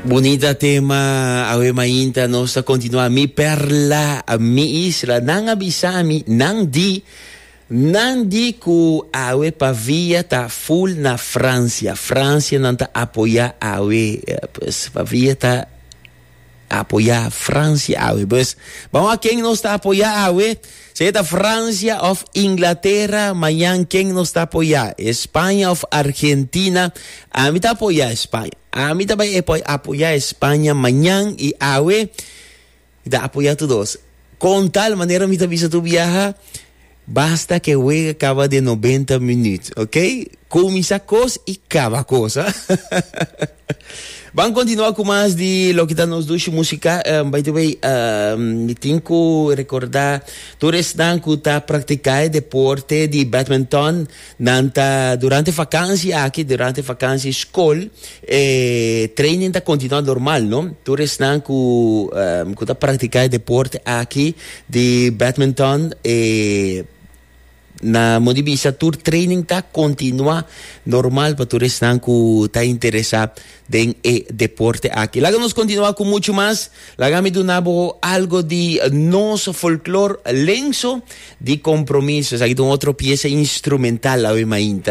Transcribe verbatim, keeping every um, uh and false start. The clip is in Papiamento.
Bunita tema, awe mainta nos ta kontinuá. Mi Perla, Mi Isla. Nan a bisa mi, nan di, nan di ku awe Pavia ta full na Fransia. Fransia nan ta apoyá awe, eh, pues Pavia ta apoyá Fransia awe. Pues, ban wak ken nos ta apoyá awe. Sea ta Fransia òf Inglatera, mañan ken nos ta apoyá? Spaña òf Argentina? Ami ta apoyá Spaña. Ami ta bai apoyá Spaña mañan i awe ta apoyá tur dos. Ku tal manera mi ta bisa tur biaha, basta ku wega kaba den nobenta minüt, ok? Kuminsá kos i kaba kos. Ban kontinuá ku mas di loke ta nos dushi músika. Um, by the way, um, tin ku rekordá, tur esnan ku ta praktiká deporte di badminton, nan ta durante vakansi aki, durante vakansi skol, eh, training ta kontinuá normal, no? Tur esnan ku, um, ku ta praktiká deporte aki di badminton, eh, na moda di bisa tur training ta kontinuá normal pa tur esnan ku ta interesá den e deporte aki. Laga nos kontinuá ku muchu mas. Laga mi duna bo algu di nos folklor, Lenso di Kompromiso. Aki un otro piesa instrumental awe mainta.